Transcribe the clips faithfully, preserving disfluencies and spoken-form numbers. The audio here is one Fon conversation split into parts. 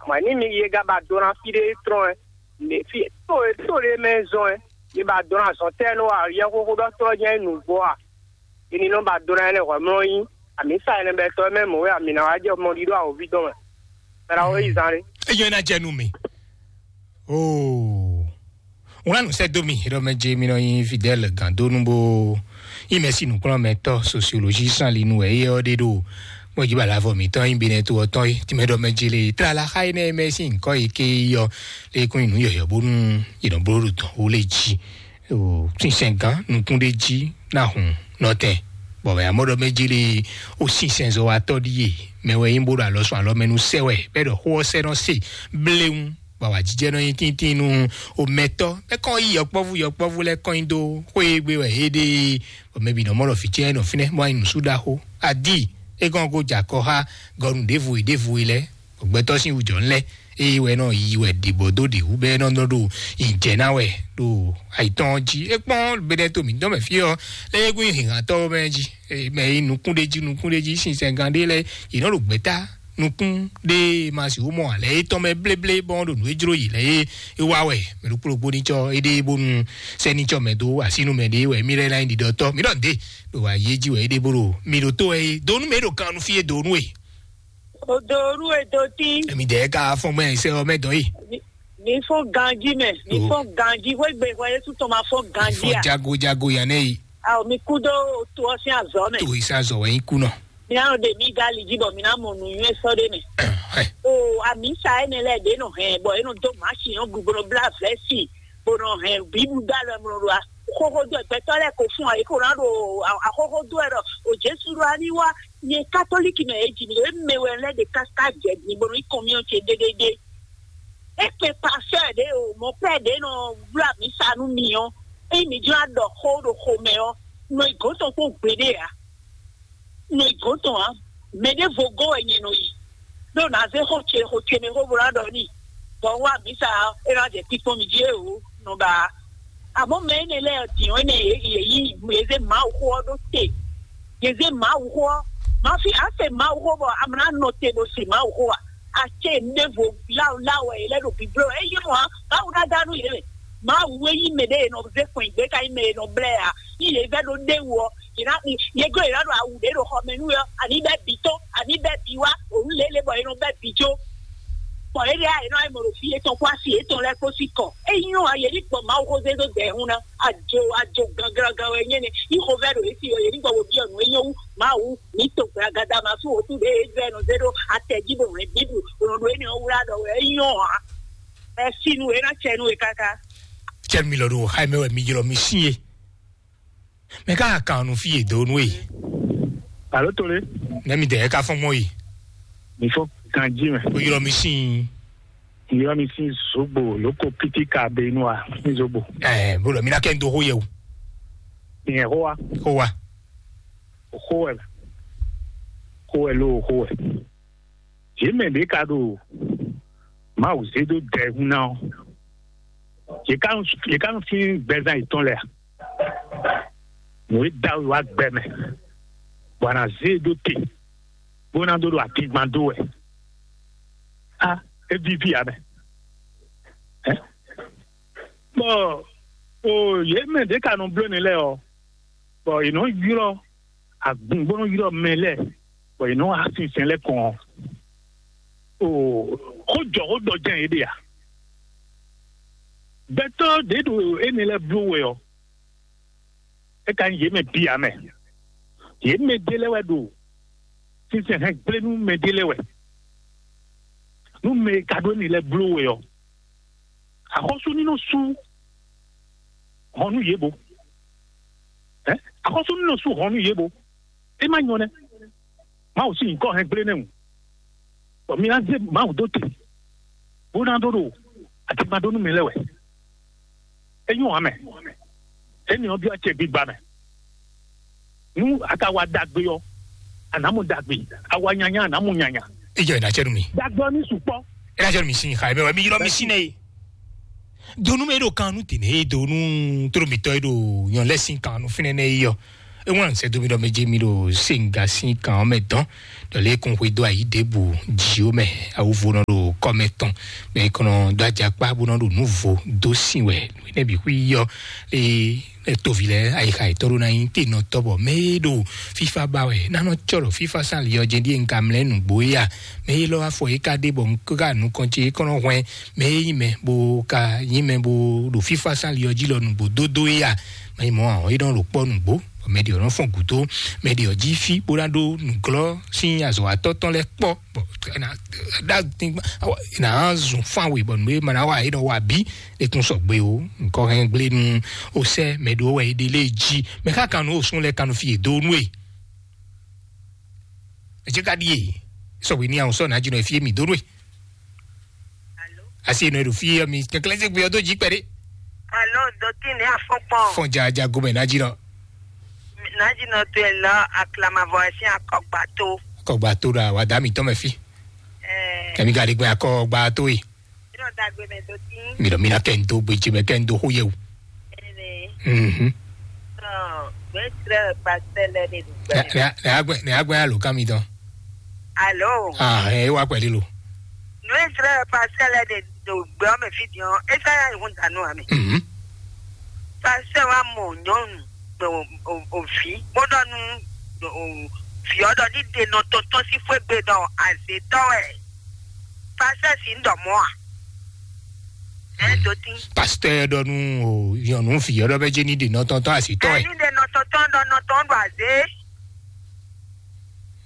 Mɔ̌ ní mi yě gá ba dó ná fí ɖé trɔ́n ɛ, mɛ fí tó e tó ɖé mɛ zɔn ɛ, yě ba dó ná zɔn tɛ́ nú a yɛxóxó ɖɔ tɔ́ jɛ́n nǔgbó a? È ní nɔ ba dó ná ɛnɛ hwɛ̌ mlɔ́ yí. Àmì sa ɛnɛ bɛ tɔ́ mɛ mɔ̌ wɛ àmì ná wá jɛ mɔ ɖíɖó awǒví dɔn mɛ. Mɛ ná wó yi zan ɖé. Eyɔ́ ná jɛ nú mi. Oo. Wlán sɛ dó mi, ɖɔ mɛ jɛ mi nɔ nyi Fidèle Gandonu bó. Yi mɛ si nukplɔ́n mɛ tɔ́ sociologie san li nu wɛ yɛ ɔ́ ɖe ɖo. Mɔ jí bala vɔ mi tɔn yi bi nɛ to ɔtɔn yi ti mɛ ɖɔ mɛ jɛ le tlala xa yi nɛ mɛ si nkɔ yi ke yɔ. Le kún yi nu yɔyɔ bónú yi nɔ bló ɖo tɔn wo le jí. Sinsɛn gán nukún ɖé jí ná hun nɔtɛn. Bɔ mɛ amɔ́ ɖɔ mɛ jɛ le o sinsɛn zɔ wa tɔ́ ɖíe. Mɛ wɛ yín bó ɖo alɔ sɔn alɔ mɛ nu sɛ wɛ bɛ ɖɔ xó ɔ́ sɛ nɔ se bléwu. Bɔ awǎjijɛ nɔ nyi tíntín nú omɛtɔ́. Mɛ kɔn yí yɔkpɔ́vú yɔkpɔ́vú lɛ́ɛ kɔn nyi dó xwé e gbe wɛ é ɖe. Bɔ mɛ bǐ nɔ mɔ ɖɔ vǐ ce nɔ fínɛ́ bó wá nyi nǔsúɖaxó. Adí é kɔn ko jɛ akɔ xá gɔnu ɖěvo e ɖěvo e lɛ́ɛ. Gbɛtɔ́ sín wujɔ lɛ́ɛ eye wɛ nɔ yi wɛ ɖibɔ dó ɖi wú bɛ nɔ nɔ ɖo yi jɛ ná wɛ ɖo ayitɔn jí. É kpɔn bɛnɛ to mǐtɔn mɛ fí ɔ́ lɛ é gún hǐnhǎntɔ́ mɛ jí. Mɛ yi nukún ɖé jí nukún ɖé jí sinsɛngán ɖé lɛ́ɛ yě nɔ ɖo gbɛtá nukún ɖé ma sixú mɔ alɛ étɔn mɛ bléblé bɔn ɖo nǔ e jló yě lɛ́ɛ é wá wɛ. Mɛ ɖokpó ɖokpó ní cɔ éɖée bónú sɛ́ ní cɔ mɛ dó asínú mɛ ɖé wɛ mí lɛ́ɛ ná nyí ɖiɖɔtɔ́ mí ɖɔ nǔɖé ɖo ayé jí wɛ éɖée bó ɖo mi ɖo tó wɛ é donu mɛ é ɖo kan nu fí é donu é. Odoru edoti. Èmi dɛ ka fɔn gbɛ sɛ ɔ mɛ dɔn yi. Mi fɔ ganji mɛ, mi fɔ ganji, wegbe hɔ Yesu tɔn ma fɔ ganji a. Fɔ jago jago yan ne yi. Awo mi kú dó to ɔ sín azɔ mɛ. To yi sa zɔ wɛ yi kú nɔ. Mi na nɔ de mi gali ji bɔ mi na mɔ nu yue sɔ de mɛ. O amisa ene lɛ de nɔ hɛn bɔ eno do machine ɔ gugbo bla vɛsi bo nɔ hɛn bibu da lɔ mlɔ do a. Xoxo do gbɛtɔ lɛ ko fún ayi ko na do a xoxo do ɛ dɔ o Jesu do ani wa. Nye katoliki mɛ e ji mi ɖo eme wɛ lɛ de kaka jɛ din bɔ nɔ yi kɔn mi ɔ ce dedede. Ekpe pasteur ɖe o mɔ pɛ ɖe nɔ wlá mi sa nú mi ɔ. Eyi mi jlá ɖɔ xó ɖo xomɛ ɔ nɔ yi gɔn tɔn kpó gbeɖe a. Nɔ yi gɔn tɔn a. Mɛ ɖe vo gɔn wɛ nyɛ nɔ yi. Ɖo na zé xó ce xó ce mi xó bo na ɖɔ ni. Bɔ wa mi sa e na jɛ kpikpɔn mi jí e o nɔ ba. Àmọ́ mɛ énɛ́ lɛ́ɛ dǐn ɔ́ énɛ́ yě yě yí yě zé Mawu xó ɔ́ ɖó te. Yě zé Mawu xó ɔ́. Má fi á se Mawu xó bɔ a mlá nɔ te bó se Mawu xó a. A ce nɖěvo láwuláwu wɛ yě lɛ́ ɖo bǐbló wɛ. É yí mɔ̌ a, Mawu ná dá nú yě mɛ. Mawu e yí mɛ ɖé e nɔ zé fɔn gbé ka yí mɛ e nɔ blɛ́ a. Yí yě vɛ́ ɖó ɖéwu ɔ́, yě ná yě glɔ́ yě ná ɖo awu ɖě ɖo xɔ mɛ nú yɔ, ani bɛ bǐ tɔn, ani bɛ bǐ wá, òun lě lě bɔ è nɔ bɛ bǐ jó. Bɔ é ɖe ayǐ nɔ ayǐ mɔ ɖo fí yětɔn kpó asi yětɔn lɛ́ɛ kpó sí kɔ. É nyɔ́ a yě ní gbɔ Mawu xó zé dó dɛ̌ hún ná. Ajo ajo gangan wɛ nyɛ nɛ. Yí xovɛ́ ɖo yě sí ɔ, yě ní gbɔ wò byɔ́ nǔ e nyɔ́ wú Mawu ní to gbɛ agada ma sú wǒtú ɖě é vɛ́ nɔ zé ɖó atɛ jí bó hɛn Bíblu, bó nɔ ɖo énɛ́ ɔ́ wlá ɖɔ wɛ é nyɔ́ ǎ. Ɛ sínu é ná cɛ nú we káká. Cɛ mi lɔ ɖo xá mɛ wɛ mi ylɔ mi sín e. Mɛ ká kan nu fí yě dó nú e. Alo tole. Nɛ mi dɛ ká fɔn mɔ yi. Mi fɔ ganji mɛ. O yɔrɔ mi sin. Yɔrɔ mi sin zogbo loko piti ka be nu a mi zogbo. Ɛɛ bolo mi na kɛ n do ho yɛ o. Nyɛ ho wa. Ho wa. Ho wɛ. Ho wɛ lo ho wɛ. Yě mɛ ɖě ka ɖo Mawu zé dó dɛ hun ná ɔ́, yě ká nɔ yě ká nɔ flín gbɛzán yětɔn lɛ́ɛ a? Nǔ e dó awu wá gbɛ mɛ, bɔ a nǎ zé e dó te, bó ná dó ɖo atingban dó wɛ. A é víví ǎ mɛ. Ɛ? Bɔ o yě mɛ ɖě ka nɔ bló nɛ lɛ́ɛ ɔ́, bɔ yě nɔ ylɔ́ agun bó nɔ ylɔ́ mɛ lɛ́ɛ, bɔ yě nɔ wá sinsɛn lɛ́ɛ kɔn ɔ́, o xó jɔ xó ɖɔ jɛ́n yě ɖe a? Gbɛtɔ́ ɖě ɖo énɛ́ lɛ́ɛ bló wɛ ɔ́, é ka nyí yě mɛ bǐ ǎ mɛ. Yě mɛ ɖé lɛ́ɛ wɛ ɖo sinsɛn hɛn gblé nú mɛ ɖé lɛ́ɛ wɛ. Nú mɛ e ka ɖó énɛ́ lɛ́ɛ bló wɛ ɔ́, axɔ́sú ní nɔ sú hɔn nú yě bo. Ɛ? Axɔ́sú ní nɔ sú hɔn nú yě bo. É má nyɔ nɛ́. Mawu sín nyǐkɔ hɛn gblé nɛ́ hǔn. Bɔ mi ná zé Mawu dó te, bó ná ɖó ɖo atigba ɖó nú mi lɛ́ɛ wɛ. É nyɔ́ ǎ mɛ. Énɛ́ ɔ́ byɔ́ acɛ gbigba mɛ. Nú a ka wa ɖagbe ɔ́, a nǎ mɔ ɖagbe. A wa nyanya, a nǎ mɔ nyanya. Ijɔ ina cɛ nu mi. Ɖagbe ɔ́ ní sukpɔ́. Ina cɛ nu mi sin xa ebe wɛ mi ylɔ mi sin nɛ ye. Donu mɛ ɖo kan nu tene ye donu toro mitɔ ye ɖo nyɔ lɛ sin kan nu finɛ nɛ ye yɔ. Ewan sɛ domi ɖɔ mɛ dze mi ɖo senga sin kan mɛ dɔn. Ɖɔ lɛ kun xwe do ayi ɖebu dziwo mɛ. Awu vo nɔ ɖo kɔmɛ tɔn, mɛ e kɔnɔ dó ajakpá bó nɔ ɖo nǔ vo dó sin wɛ nɛ́ bǐ xwí yɔ. Ee, toví lɛ ayixa yětɔn ɖó ná nyí tenɔtɔ́, bɔ mɛ e ɖo fífá ba wɛ ná nɔ cɔ ɖɔ fífá sán ali ɔ́ jɛ ɖíe un ka mlɛ́ nǔgbó é a? Mɛ e lɔ afɔ é ka ɖe bɔ un ka nukɔn ce é kɔnɔ hwɛn mɛ e nyí mɛ bó ka nyí mɛ bó ɖo fífá sán ali ɔ́ jí lɔ nǔgbó dódó é a? Mɛ e mɔ ahɔn é nɔ ɖo kpɔ́ nǔgbó, bɔ mɛ ɖě ɔ́ nɔ fɔn gǔdo, mɛ ɖě ɔ́ jí fí bó ná ɖó nǔglɔ́ sín azɔ̌watɔ́ tɔn lɛ́ɛ kpɔ́, bɔ é ná ɖá dín é ná zun fán we bɔ nǔ e ma ná wa é nɔ wa bǐ. É kún sɔgbe o, nǔkɔ hɛn gblé nú o sɛ mɛ ɖó wɛ é ɖe lé jí. Mɛ ká kan nú o sún lɛ kan nú fi e dó nú e. Etsé ka ɖíe sɔgbe ní àwọn sɔ ná jí nɔ fi mi dó nú e. Asi nɔ ɖo fi mi kɛkɛlɛ se gbé ɔdó jí kpɛɖé. Alo, dotí ní afɔkpɔn. Fɔn ja ja gomɛ ná jí nɔ. Ná jí nɔ tó ɛ lɔ aklamavɔ ɛ sín akɔgba tó. Akɔgba tó ɖo àwàdá mi tɔn mɛ fi. Ɛɛ. Kɛmi ka ɖe gbɛ akɔgba tó yi. Yɔrɔ dagbe mɛ dotí. Mi ɖɔ mi na kɛ n do gbedzi mɛ kɛ n do xó yɛ o. Ɛnɛ. Mhm. Ɔ, gbɛ trɛ pastor lɛ de do. Nɛ nɛ nɛ agbɛ nɛ agbɛ alo kan mi tɔn. Alo. Ah, ɛ wa pɛli lo. Nue trɛ pastor lɛ de do gbɛ ɔmɛ fi diɔn. Esa ya ihun danu ami. Mhm. Pastor wa mɔ nyɔnu o o o vi. Mo dɔ nu o vi ɔdɔ ni de nɔ tɔntɔn si fue gbe dɔ azetɔ wɛ. Pastor si n dɔ mɔ a. Ɛ do tin. Pasteur ɖɔ nú o nyɔnu fi ɔdɔ bɛ dze ní ɖe nɔtɔntɔn asitɔ ɛ. Ɛni ɖe nɔtɔntɔn ɖɔ nɔtɔn ɖo azé.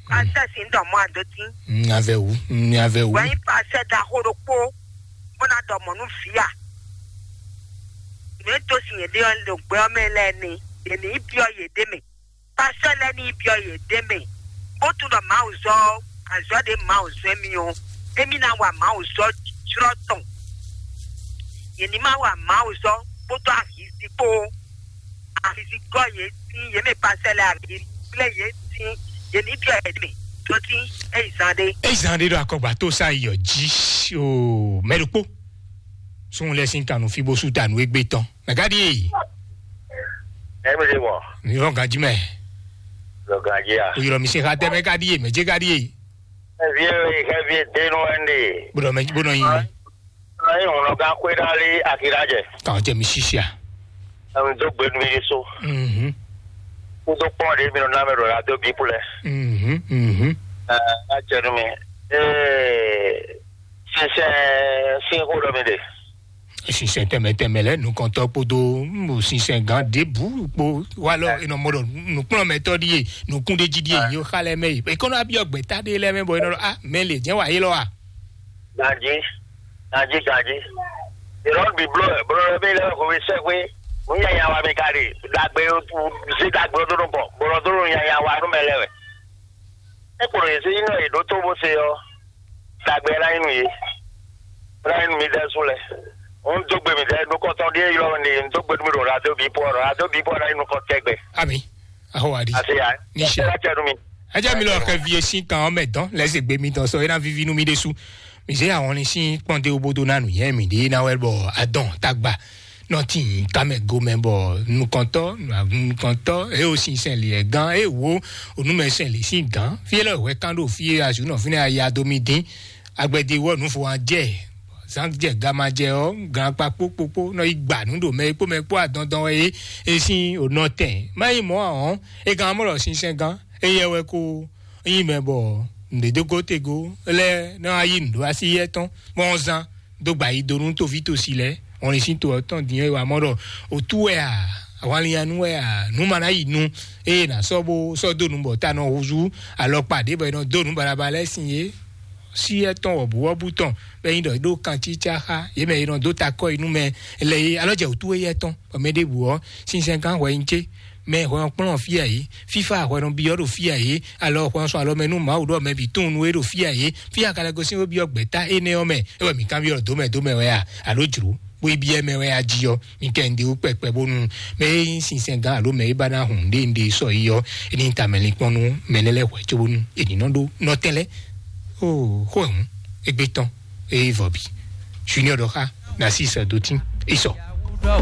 Pastor si n dɔ mɔ a do tin. N avɛ wu, n avɛ wu. Wɛn pastor da xo ɖokpo. Bó ná dɔ mɔ nú via. Nú e tó sin yě ɖe ɔ́ ɖo gbɛ ɔ́ mɛ lɛ́ɛ ni. Yě ní biɔ yě ɖe mɛ. Pastor lɛ́ɛ ní biɔ yě ɖe mɛ. Bó tunɔ Mawu zɔ azɔ ɖe Mawu zɔ émi ɔ́, émi ná wa Mawu zɔ jlɔ́ tɔn. Yě ní ma wa Mawu zɔ kpódó ahizi kpó. Ahizi gɔ́ yě sín yě mɛ pastor lɛ́ɛ ahizi kplé yě sín yě ní biɔ yě ɖe mɛ. Tó tín é yi zan ɖé. É yi zan ɖé ɖo akɔgba tó sa yi ɔ jí o mɛ ɖokpó. Sun lɛ sín kanu fi bó sú tanu égbé tɔn. Mɛgadi. Ɛmɛ de wɔ. Mi vɔ ganji mɛ. Lɔ ganji a. O yɔrɔ mi se xa tɛ mɛgadi ye mɛ jegadi ye. Xɛvie xɛvie denu ɛnde. Bɔdɔ mɛ bɔdɔ yin. Ɔyìn ŋlɔ gan kwe dali akira jɛ. Kàn jẹ mi sisia. Ɛm do gbenu mi so. Mhm. Kudo kpɔn de mi nɔ namɛ do la do bi kulɛ. Mhm. Mhm. Ɛɛ a jɛ nu mi. Ee. Sinsɛn sin xó ɖɔ mi ɖe. Sinsɛn tɛmɛ tɛmɛ lɛ nukɔntɔ kpodo mo sinsɛn gan ɖebu kpo wa lɔ enɔ mɔ ɖɔ nukplɔnmɛtɔ ɖi ye nukun ɖe jí ɖi ye yo xa lɛ mɛ yi ekɔnɔ abiɔ gbɛta ɖe lɛ mɛ bɔ enɔ ɖɔ a mɛ le jɛ wa yi lɔ wa. Ganji, ganji, ganji. Ìrọ́n bíbló ẹ̀ bọ́lá bí lẹ́wọ̀ kò fi sẹ́gbé. Ń yà yà wà mí kárí. Dàgbé sí dàgbé ọdún bọ̀. Bọ̀lọ̀ tó ń yà yà wà nú mẹ́lẹ́ wẹ̀. Ẹ kò lè sí iná ìdó tó bó ṣe ọ. Dàgbé láyé nù yé. Láyé nù mí dẹ́ sún lẹ̀. Ń dógbé mi dẹ́ nukọ́tọ́ díẹ̀ yọ ni ń dógbé mi rò rádó bí pọ̀ rò rádó bí pọ̀ láyé nukọ́ tẹ́gbẹ́. Ami. Aho adi. Àti yà. Níṣẹ́. Ẹ jẹ́ mi lọ kẹ́ vie sí kan ọmọ ẹ̀dán lẹ́sẹ̀ gbé mi tán sọ ẹ náà vivi inú mi dé sú. Mi ṣe àwọn ní sí pọ́ndé obodo náà nù yẹn mi dé náà wẹ́ bọ̀ adán tágbà. Nɔtí kamɛ gomɛ bɔ nukɔntɔ nukɔntɔ e o sin sɛn liɛ gan e wo onumɛ sɛn li sin gan fi lɛ wɛ kan ɖo fi azu nɔ fi ne aya do mi din agbɛdi wɔ nufo an jɛ zan jɛ gama jɛ ɔ gan kpa kpokpokpo nɔ yi gba nu ɖo mɛ kpó mɛ kpó adɔndɔn wɛ e e sin onɔ tɛn ma yi mɔ ahɔn e gan mɔ lɔ sinsɛn gan e yɛ wɛ ko yi mɛ bɔ ndedogo tego lɛ nɔ ayi nu ɖo asi yɛ tɔn mɔ zan dó gba yi do nú toví tosi lɛ́ɛ. Wọn lè sín to ɔ́ tɔn din é wa mɔ ɖɔ òtú wɛ a, ahwanlinyanu wɛ a, nú ma ná yi nu eye nà sɔ́ bó sɔ́ dó nu bɔ ta nɔ húzú alɔkpa ɖě bɔ è nɔ dó nǔ balaba lɛ́ɛ sin é. Sí ɛtɔn wɔ̌buwɔ́bú tɔn bɔ é nyí ɖɔ é ɖó kan cícá xá yě mɛ è nɔ dó takɔ yi nú mɛ lɛ é alɔ jɛ òtú éyɛ́ tɔn bɔ mɛ ɖěbǔ ɔ́ sinsɛn gán hwɛ nyi cé mɛ hwɛ ɔ́ kplɔ́n fí ǎ é fífá hwɛ nɔ byɔ́ ɖo fí ǎ é alɔ hwɛ ɔ́ sɔn alɔ mɛ nú Mawu ɖɔ mɛ bǐ tunwun nú é ɖo fí ǎ é fí a ka lɛ́ gosín bó byɔ́ gbɛ̌ta énɛ́ ɔ́ mɛ é wɛ mǐ kanbyɔ́ ɖɔ dǒ mɛ dǒ mɛ wɛ a alo jlǒ bó yi byɔ́ mɛ wɛ a jí ɔ́ mi kɛ un ɖe wú kpɛkpɛ bónú mɛ e nyí sinsɛn gán alo mɛ e ba ná hun ɖě un ɖe sɔ́ yi ɔ́ é ní ta mɛ linkpɔ́n nú mɛ lɛ́ lɛ́ hwɛ cóbónú è ní nɔ ɖó nɔtɛn lɛ́ɛ. Oo xó ɛ hǔn égbé tɔn eye vɔ bǐ junior ɖɔ xá nasi sɛ dó tín é sɔ.